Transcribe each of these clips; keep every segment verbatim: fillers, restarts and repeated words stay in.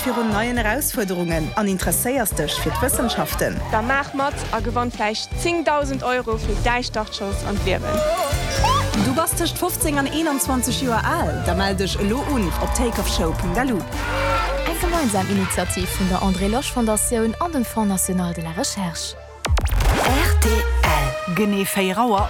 Angscht virun neien Erausfuerderungen an interesséiers dech fir d'Wëssenschaften? Da maach mat a gewann vläicht zéngdausend Euro fir däi Startschoss an d'Liewen! Du bass tëscht fofzéng an eenanzwanzeg Joer al? Da mell dech elo un op takeoffshow Punkt lu. Eng gemeinsam Initiativ vun der André Losch Fondatioun an dem Fonds national de la recherche. R T L. Genee véier Auer.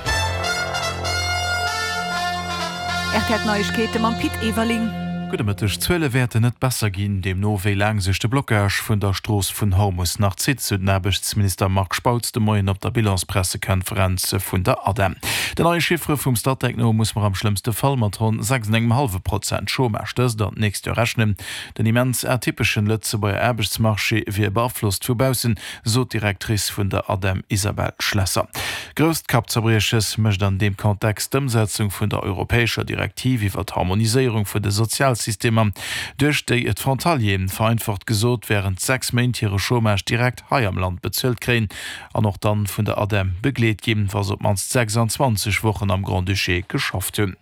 R T L Neiegkeete mam Pit Everling. Gudde Mëtteg. D'Zuele wäerten net besser ginn, deemno wéi laang sech de Blockage vun der Strooss vun Hormus nach zitt, sou den Aarbechtsminister Marc Spautz de Moien op der Bilanspressekonferenz vun der ADEM. Den neie Chiffere vum Statec no muss mer am schlëmmste Fall mat ronn sechs an engem hallwe Prozent Chômage dëst an d'nächst Joer rechnen. Den immens atypeschen Lëtzebuerger Aarbechtsmarché wier beaflosst vu baussen, sot d'Directrice vun der ADEM Isabelle Schlesser. Grousst Kappzerbrieches mécht an deem Kontext d'Ëmsetzung vun der europäescher Direktiv iwwer d'Harmoniséierung vun de Sozialsystemer, duerch déi d'Frontalieren, vereinfacht gesot, wärend sechs Méint hire Chômage direkt hei am Land bezuelt kréien an och dann vun der ADEM begleet ginn, wa se op d'mannst sechsanzwanzeg Wochen am Grand-Duché geschafft hunn.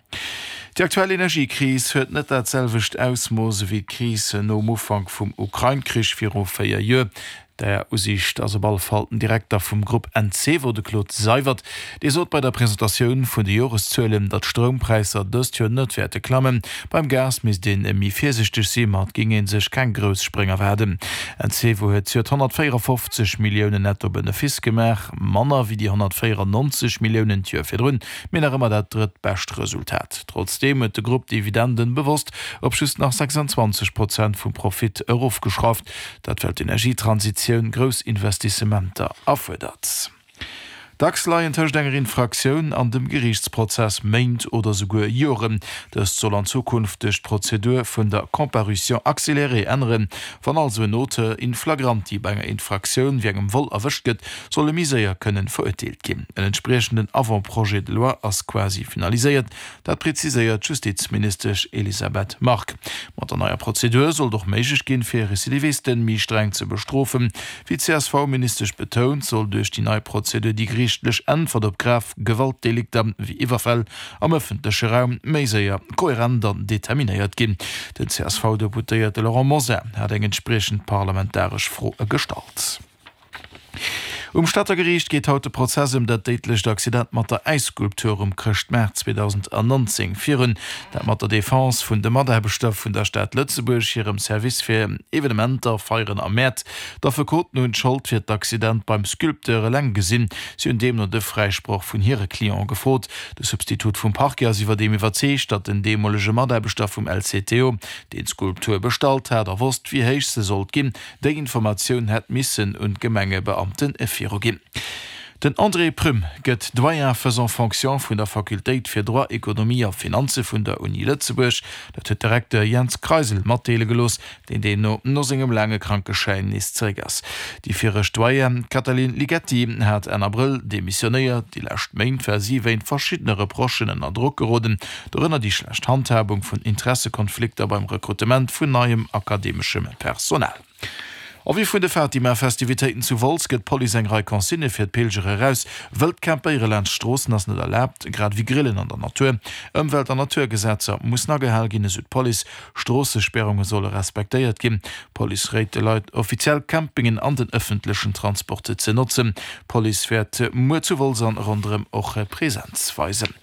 Déi aktuell Energiekris huet net dat selwecht Ausmooss ewéi d'Kris nom Ufank vum Ukrain-Krich viru véier Joer. Där Usiicht ass op alle Fall den Direkter vum Grupp Encevo, de Claude Seywert. Dee sot bei der Presentatioun vun de Joreszuelen, datt d'Stroumpräisser dëst Joer net wäerte klammen. Beim Gas misst ee méi virsiichteg sinn, ma et géing ee sech keng grouss Spréng erwaarden. Encevo huet zejoert honnertvéierafofzeg Milliounen netto Benefice gemaach, manner wéi déi honnertvéierannonzeg Milliounen d'Joer virdrun, mee nach ëmmer dat drëttbescht Resultat. Trotzdeem huet de Grupp d'Dividenden bewosst op just nach sechsanzwanzeg Prozent vum Profit erofgeschrauft, dat well d'Energietransitioun grouss Investissementer erfuerdert. Dacks leien tëscht enger Infraktioun an dem Geriichtsprozess Méint oder souguer Joren. Dëst soll an Zukunft duerch d'Prozedur vun der Comparution accélérée änneren. Wann also en Auteur in flagranti bei enger Infraktioun wéi engem Vol erwëscht gëtt, soll e méi séier kënnen verurteelt ginn. En entspriechenden Avant-projet de loi ass quasi finaliséiert, dat preziséiert d'Justizministesch Elisabeth Margue. Mat der neier Prozedur soll et och méiglech ginn, fir Recidivisten méi streng ze bestrofen. Wéi d'C S V-Ministesch betount, soll duerch déi nei Prozedur déi geriichtlech Äntwert op grav Gewaltdelikter wéi Iwwerfäll am ëffentleche Raum méi séier, kohärent an determinéiert ginn. Den C S V-Deputéierte Laurent Mosar hat eng entspriechend parlamentaresch Fro gestallt. Um Stater Geriicht geet haut de Prozess ëm dat déidlecht Accident mat der Äisskulptur um Chrëschtmaart zweedausendnonzéng virun. Dat mat der Defense vun de Mataarbechter vun der Stad Lëtzebuerg hirem Service fir Evenementer, Feieren a Mäert. D'Affekoten hunn d'Schold fir d'Accident beim Sculpteur eleng gesinn. Si hunn deemno de Fräisproch vun hire Client gefrot. De Substitut vum Parquet ass iwwerdeem iwwerzeegt, datt den deemolege Mataarbechter vum L C T O, deen d'Skulptur bestallt hat a wosst, wéi héich se sollt ginn, déi Informatioun hätt missen un d'Gemengebeamten viruginn. Den André Prüm gëtt Doyen faisant fonction vun der Fakultéit fir Droit, Ekonomie a Finanze vun der Uni Lëtzebuerg. Dat huet de Recteur Jens Kreisel matdeele gelooss, deen deemno no sengem laange Krankeschäin nees zeréck ass. Déi viregt Doyenne, d'Katalin Ligeti, hat Enn Abrëll demissionéiert. Déi lescht Méint war si wéint verschiddene Reprochen ënner Drock geroden, dorënner déi schlecht Handhabung vun Interessekonflikter beim Rekrutement vun neiem akademeschem Personal. En vue vun de Fatima-Festivitéiten zu Wolz gëtt d'Police eng Rei Consignë fir d'Pilger eraus. Wëllt Campéiere laanscht Stroossen ass net erlaabt, grad ewéi Grillen an der Natur. Ëmwelt an Naturgesetzer mussen agehal ginn, esou d'Police. Stroossesperrunge solle respektéiert ginn. D'Police réit de Leit, offiziell Campingen an den ëffentlechen Transport ze notzen. D'Police wäert muer zu Wolz an ronderëm och Presenz weisen.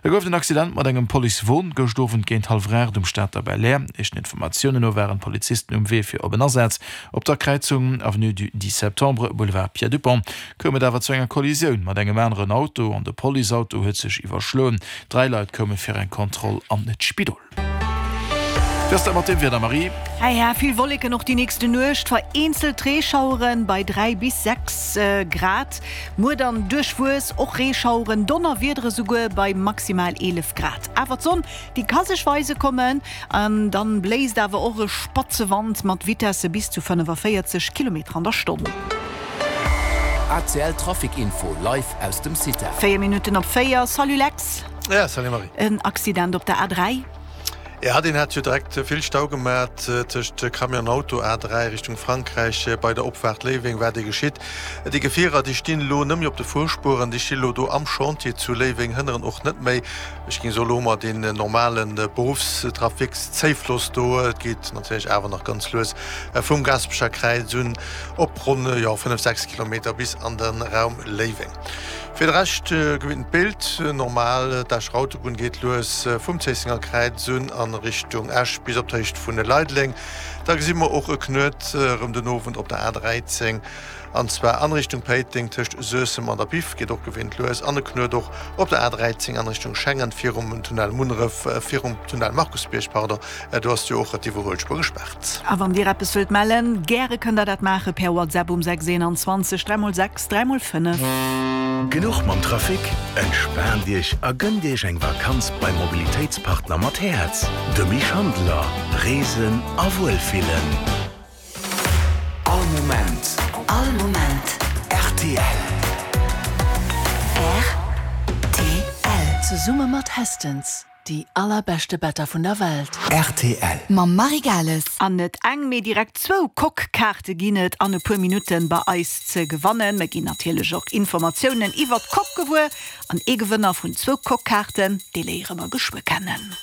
Et gouf en Accident mat engem Policewon gëscht Owend géint hallwer aacht um Stater Belair. Éischten Informatiounen no waren d'Polizisten um Wee fir op en Asaz. Op der Kräizung Avenue du dix septembre, Boulevard Pierre Dupong koum et awer zu enger Kollisioun mat engem aneren Auto an de Policeauto huet sech iwwerschloen. Dräi Leit koume fir eng Kontroll an d'Spidol. Wéi ass dat mat dem Wieder, Marie? Ja, ja, vill Wolleken och déi nächste Nuecht, vereenzelt Reeschaueren bei dräi bis sechs Grad. Muer dann duerchwuess, och Reeschaueren, Donnerwiedere souguer bei maximal eelef Grad. Awer d'Sonn, déi ka sech weise kommen an dann bléist awer och e spatze Wand mat Vitesse bis zu fënnefavéierzeg Kilometer an der Stonn. A C L Trafic Info live aus dem Cita. Véier Minutten op véier. Salut Lex. Ja, salut Marie. En Accident op der A dräi. Ja, deen hat jo direkt vill Stau gemat tëscht Camion an Auto, A dräi Richtung Frankräich bei der Opfaart Léiweng war dee geschitt. Déi Gefierer déi stinn elo net méi op de Fuerspueren, déi sti lo do am Chantier zu Léiweng, hënneren och net méi. Ech géing soen, elo hu mer deen normale Beruffstrafikszéifloss do. Et geet natierlech awer nach ganz lues vum Gaasperecher Kräiz un op ronn, jo, fënnef, sechs Kilometer bis an de Raum Léiweng. Fir de Rescht gewinnt d'Bild normal. D'Escher Autobunn geet lues vum Zéissenger Kräiz un a Richtung Esch bis op d'Héicht vun Leideleng. Da gesi mer och e Knuet erëm den Owend op der A dräizéng an zwar an Richtung Péiteng tëscht Suessem an der Biff, geet och gewinnt lues. An e Knuet och op der A dräizéng an Richtung Schengen virum Tunnel Munneref, virum Tunnel Markusbierg, pardon, do ass jo och d'Iwwerhuelspuer gespaart. A wann Dir eppes wëllt mellen, gäre kënnt der dat maache per WhatsApp um sechs eenanzwanzeg dräi mol sechs dräi mol fënnef. Genuch mam Trafic? Entspaant Iech a gënnt Iech eng Vakanz beim Mobilitéitspartner mat Häerz, dem Misch Handler. Reesen a Wuelfillen. All Moment. All Moment. Rtl. Rtl. Zesumme mat Hästens, déi allerbeschte Better vun der Welt. Rtl. Mam Marie Gales. An net eng, mee direkt zwou Coque-Kaarte ginn et an e puer Minutten bei eis ze gewannen. Mir ginn natierlech och Informatiounen iwwert d'Coque gewuer. An ee Gewënner vun zwou Coque-Kaarten, dee léiere mer geschwë kennen.